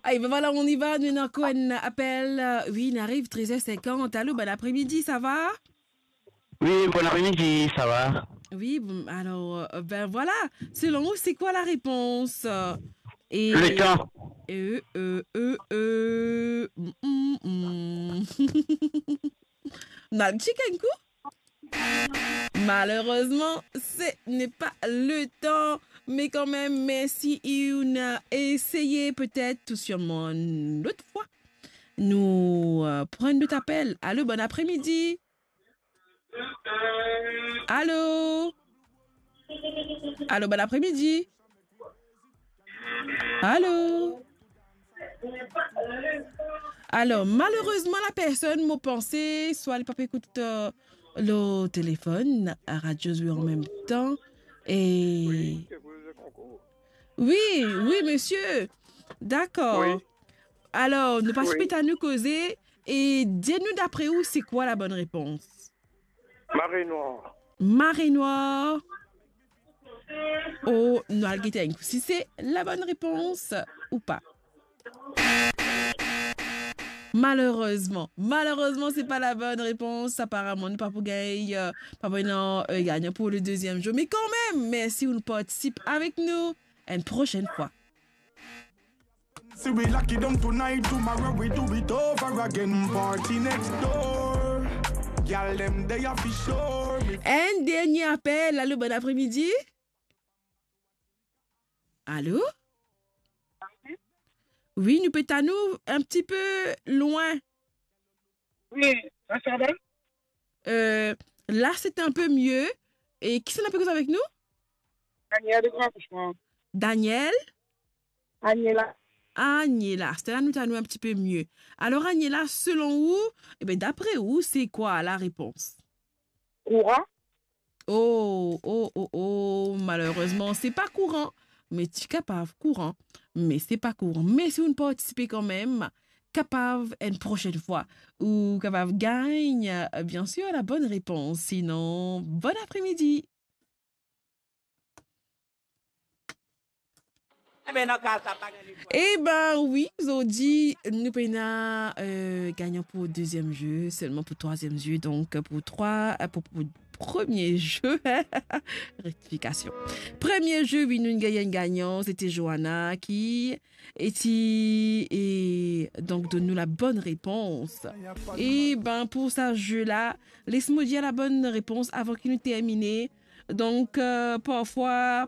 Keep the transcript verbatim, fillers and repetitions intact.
Ay, ben voilà, on y va, nou ena ankor enn apel. Euh, wi, nou ariv trez er sinkant. Alo, bon apremidi, sa va? Oui, bon après-midi, ça va? Oui, bon, alors, euh, ben voilà, selon vous, c'est quoi la réponse? Euh, et... Le temps. Euh, euh, euh, euh, mm, mm, mm. Nou al check enn kou? Malheureusement, ce n'est pas le temps. Mais quand même, merci, on a essayé, peut-être tout sûrement une autre fois. Nou, euh, pran enn lot apel. Alo, bon apremidi. Alo? Alo, bon apremidi. Alo? Alor, malerezman, la personn, mo panse, swa li pa pe ekout, euh, lor telefonn, radio zwe an mem tan, e... Wi, wi, misie. Dakor. Wi. Alor, nou pa... Wi. Sipeta nou koze, e dir nou, dapre ou, se kwa la bonn repons? Mare nwa. Mare nwa. Oh, nou al gete enn kou si se la bonn repons ou pa. Malerezman, malerezman, se pa la bonn repons. Aparaman, nou pa pou gagn, euh, pa pou ena, euh, gagnan pou le deziem zour. Me kanmem, mersi ou'nn partisip avek nou. Enn prosenn fwa. See we lock it down tonight, tomorrow we do it over again. Party next door. Gyal dem dey a fi sure. Enn dernie apel. Alo, bon apremidi. Alo? Wi, nou pe tann ou enn tipe lwin. Wi, la sa va? Euh, la, c'est un peu mieux. E kisannla pe koz avek nou? Daniel de Grand Richemont. Daniel? Aniela. Aniela, aster la nou tann ou enn tipe mie. Alor, Aniela, selon ou, ebe, dapre ou, se kwa la repons? Kouran. Oh, oh, oh, oh, malerezman, se pa kouran. Me ti kapav kouran, me se pa kouran. Me si ou'nn partisipe kanmem, kapav enn prosenn fwa, ou kapav gagn, euh, biensir, la bonn repons. Sinon, bon apremidi. Ebe, wi, zordi, nou pena, euh, gagnan pou deziem zour, selman pou trwaziem zour. Donk, pou trwa, euh, pou, pou premie zour, rektifikasion. Premie zour, wi, nou gagn enn gagnan, se ti Joana ki, e ti, e donk, donn nou la bonn repons. Ebe, pou sa zour la, les mo dir la bonn repons avan ki nou termine. Donk, euh, parfwa,